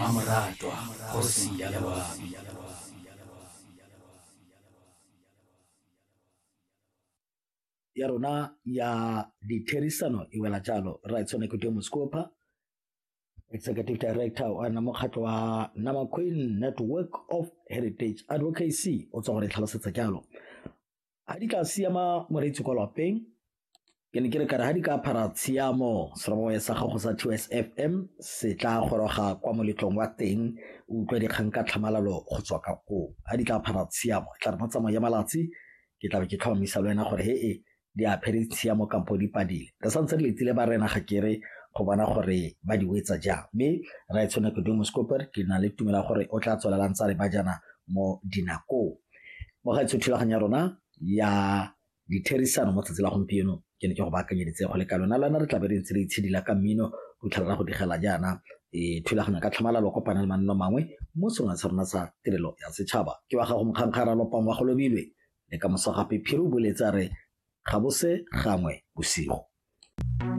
Mmamoratwa kgosi ya loabi. Ya rona ya ditherisano e wela jalo. Raetsho Nekudio Moskopa, Executive Director wa mokgatlho wa Nama Queen Network of Heritage Advocacy, o tswa go re tlhalosetsa jalo. Ga di ka siama moreetsi kwa lapeng, ke ne ke re kare ga di ka phara tshiamo, seroboya sa gago sa 2S FM se tla goroga kwa moletlong wa teng, o utlwa dikgang ka tlhamalalo go tswa ka koo. Ga di tla phara tshiamo, e tla re mo tsamao ya malatsi ke tla be ke tlhomamisa le wena gore he e di aphere tshiamo kampo di padile. Re santse re letile ba rena ga kere go bona gore ba di wetsa jang, mme Raetsho Nekudio Moskoper ke na le tumelo ya gore o tla tswelelang tsa re ba jana mo dinakong. Mo gaetsho thulaganyo ya rona ya ditherisano mo tsatsi la gompieno ke ne ke go baakanyeditse go le kalo. Na le wena re tla be re ntse re itshidila ka mmino go fitlhela go digela jaana thulaganyo ka tlhamalalo, kopana le manno mangwe mo sengwe sa rona sa tirelo ya setšhaba. Ke wa gago Mokgankgara Lopang wa go lobilwe le ka moso gape. Phiri o boletse a re ga bo se gangwe bosigo.